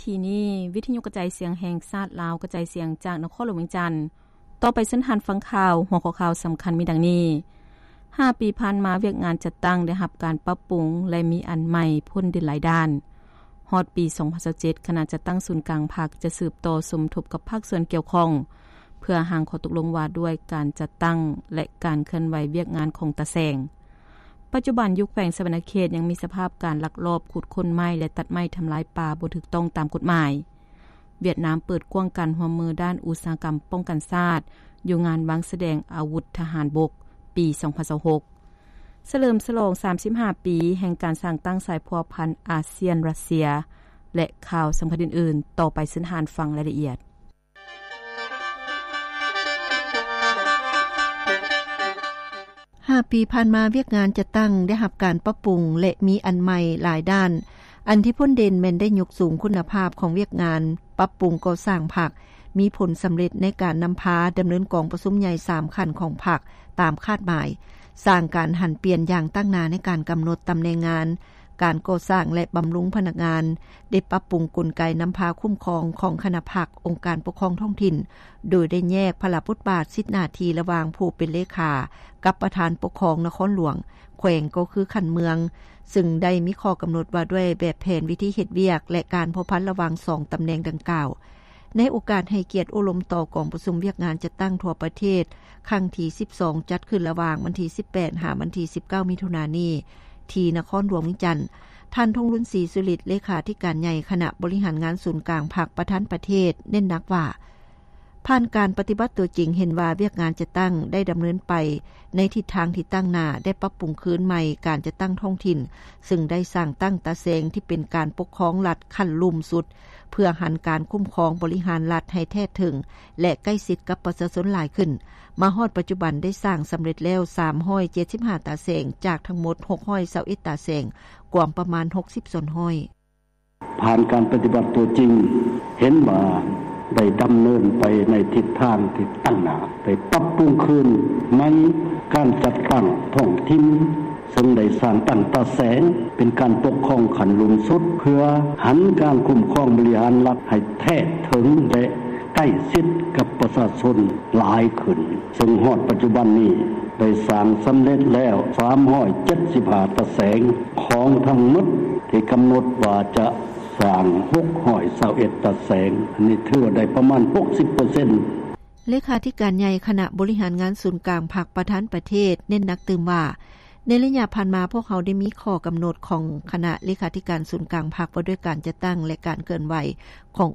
ທີນີ້ ວິທະຍຸກະຈາຍສຽງແຫ່ງຊາດລາວ ກະຈາຍສຽງຈາກນະຄອນຫຼວງວຽງຈັນ. ຕໍ່ໄປເຊີນທ່ານຟັງຂ່າວ. ຫົວຂໍ້ຂ່າວສຳຄັນມີດັ່ງນີ້: ຫ້າປີຜ່ານມາ ວຽກງານຈັດຕັ້ງໄດ້ຮັບການປັບປຸງ ແລະ ມີອັນໃໝ່ພົ້ນເດັ່ນຫຼາຍດ້ານ. ຮອດປີສອງພັນຊາວເຈັດ ຄະນະຈັດຕັ້ງສູນກາງພັກຈະສືບຕໍ່ສົມທົບກັບພາກສ່ວນກ່ຽວຂ້ອງ ເພື່ອຫາຂໍ້ຕົກລົງວ່າດ້ວຍການຈັດຕັ້ງ ແລະ ການເຄື່ອນໄຫວວຽກງານຂອງຕາແສງ. ປັດຈຸບັນຢູ່ແຂວງສະຫວັນນະເຂດຍັງມີສະພາບການລັກລອບຂຸດຄົ້ນໄມ້ ແລະ ຕັດໄມ້ທຳລາຍປ່າບໍ່ຖືກຕ້ອງຕາມກົດໝາຍ. ຫວຽດນາມເປີດກວ້າງການຮ່ວມມືດ້ານອຸດສາຫະກຳປ້ອງກັນຊາດ ຢູ່ງານວາງສະແດງອາວຸດທະຫານບົກປີສອງພັນຊາວຫົກ ສະເຫຼີມສະຫຼອງສາມສິບຫ້າປີແຫ່ງການສ້າງຕັ້ງສາຍພົວພັນອາຊຽນ-ຣັດເຊຍ ແລະ ຂ່າວສຳຄັນອື່ນໆ. ຕໍ່ໄປເຊີນທ່ານຟັງລາຍລະອຽດ. ຫ້າປີຜ່ານມາ ວຽກງານຈັດຕັ້ງໄດ້ຮັບການປັບປຸງ ແລະ ມີອັນໃໝ່ຫຼາຍດ້ານ. ອັນທີ່ພົ້ນເດັ່ນແມ່ນໄດ້ຍົກສູງຄຸນນະພາບຂອງວຽກງານປັບປຸງກໍ່ສ້າງພັກ, ມີຜົນສຳເລັດໃນການນຳພາດຳເນີນກອງປະຊຸມໃຫຍ່ສາມຂັ້ນຂອງພັກຕາມຄາດໝາຍ, ສ້າງການຫັນປ່ຽນຢ່າງຕັ້ງໜ້າໃນການກຳນົດຕຳແໜ່ງງານ, ການກໍ່ສ້າງ ແລະ ບຳລຸງພະນັກງານ, ໄດ້ປັບປຸງກົນໄກນຳພາຄຸ້ມຄອງຂອງຄະນະພັກ, ອົງການປົກຄອງທ້ອງຖິ່ນ, ໂດຍໄດ້ແຍກພາລະບົດບາດສິດໜ້າທີ່ລະຫວ່າງຜູ້ເປັນເລຂາກັບປະທານປົກຄອງນະຄອນຫຼວງ, ແຂວງກໍຄືຂັ້ນເມືອງ, ຊຶ່ງໄດ້ມີຂໍ້ກຳນົດວ່າດ້ວຍແບບແຜນວິທີເຮັດວຽກ ແລະ ການພົວພັນລະຫວ່າງສອງຕຳແໜ່ງດັ່ງກ່າວ. ໃນໂອກາດໃຫ້ກຽດໂອ້ລົມຕໍ່ກອງປະຊຸມວຽກງານຈັດຕັ້ງທົ່ວປະເທດຄັ້ງທີສິບສອງ ຈັດຂຶ້ນລະຫວ່າງວັນທີສິບແປດ ຫາວັນທີສິບເກົ້າ ມິຖຸນານີ້ ທີ່ນະຄອນຫຼວງວຽງຈັນ, ທ່ານ ທອງລຸນ ສີສຸລິດ ເລຂາທິການໃຫຍ່ຄະນະບໍລິຫານງານສູນກາງພັກປະທານປະເທດ ເນັ້ນໜັກວ່າ ຜ່ານການປະຕິບັດຕົວຈິງເຫັນວ່າວຽກງານຈັດຕັ້ງໄດ້ດຳເນີນໄປໃນທິດທາງທີ່ຕັ້ງໜ້າ, ໄດ້ປັບປຸງຄືນໃໝ່ການຈັດຕັ້ງທ້ອງຖິ່ນ, ຊຶ່ງໄດ້ສ້າງຕັ້ງຕາແສງທີ່ເປັນການປົກຄອງລັດຂັ້ນລຸ່ມສຸດ ເພື່ອຫັນການຄຸ້ມຄອງບໍລິຫານລັດໃຫ້ແທດເຖິງ ແລະ ໃກ້ຊິດກັບປະຊາຊົນຫຼາຍຂຶ້ນ. ມາຮອດປັດຈຸບັນໄດ້ສ້າງສຳເລັດແລ້ວສາມຮ້ອຍເຈັດສິບຫ້າຕາແສງ ຈາກທັງໝົດຫົກຮ້ອຍຊາວເອັດຕາແສງ, ກວມປະມານຫົກສິບສ່ວນຮ້ອຍ. ຜ່ານການປະຕິບັດຕົວຈິງ ເຫັນວ່າໄດ້ດຳເນີນໄປໃນທິດທາງທີ່ຕັ້ງໜ້າ, ໄດ້ປັບປຸງຄືນໃໝ່ການຈັດຕັ້ງທ້ອງຖິ່ນ, ເຊິ່ງໄດ້ສ້າງຕັ້ງຕາແສງເປັນການປົກຄອງຂັ້ນລຸ່ມສຸດ ເພື່ອຫັນການຄຸ້ມຄອງບໍລິຫານລັດໃຫ້ແທດເຖິງ ແລະ ໃກ້ຊິດກັບປະຊາຊົນຫຼາຍຂຶ້ນ, ເຊິ່ງຮອດປັດຈຸບັນນີ້ໄດ້ສ້າງສຳເລັດແລ້ວສາມຮ້ອຍເຈັດສິບຫ້າຕາແສງ ຂອງທັງໝົດທີ່ກຳນົດວ່າຈະສ້າງຫົກຮ້ອຍຊາວເອັດຕາແສງ, ອັນນີ້ຖືວ່າໄດ້ປະມານຫົກສິບເປີເຊັນ. ເລຂາທິການໃຫຍ່ຄະນະບໍລິຫານງານສູນກາງພັກປະທານປະເທດ ເນັ້ນໜັກຕື່ມວ່າ ໃນໄລຍະຜ່ານມາ ພວກເຮົາໄດ້ມີຂໍ້ກຳນົດຂອງຄະນະເລຂາທິການສູນກາງພັກ ວ່າດ້ວຍການຈັດຕັ້ງ ແລະ ການເຄື່ອນໄຫວຂອງ